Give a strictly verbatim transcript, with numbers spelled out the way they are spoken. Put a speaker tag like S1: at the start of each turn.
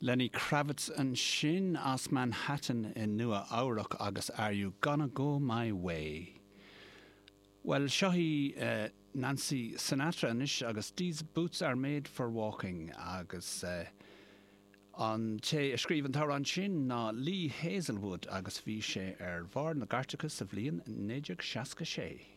S1: Lenny Kravitz ansin as Manhattan i Nua Eabhrac agus Are You Gonna Go My Way. Well seo í uh, Nancy Sinatra anois agus These Boots Are Made for Walking agus uh, an té a scríobh an t-amhrán sin ná Lee Hazelwood agus bhí sé ar bharr na gcairteacha sa bhliain naoi déag seasca sé.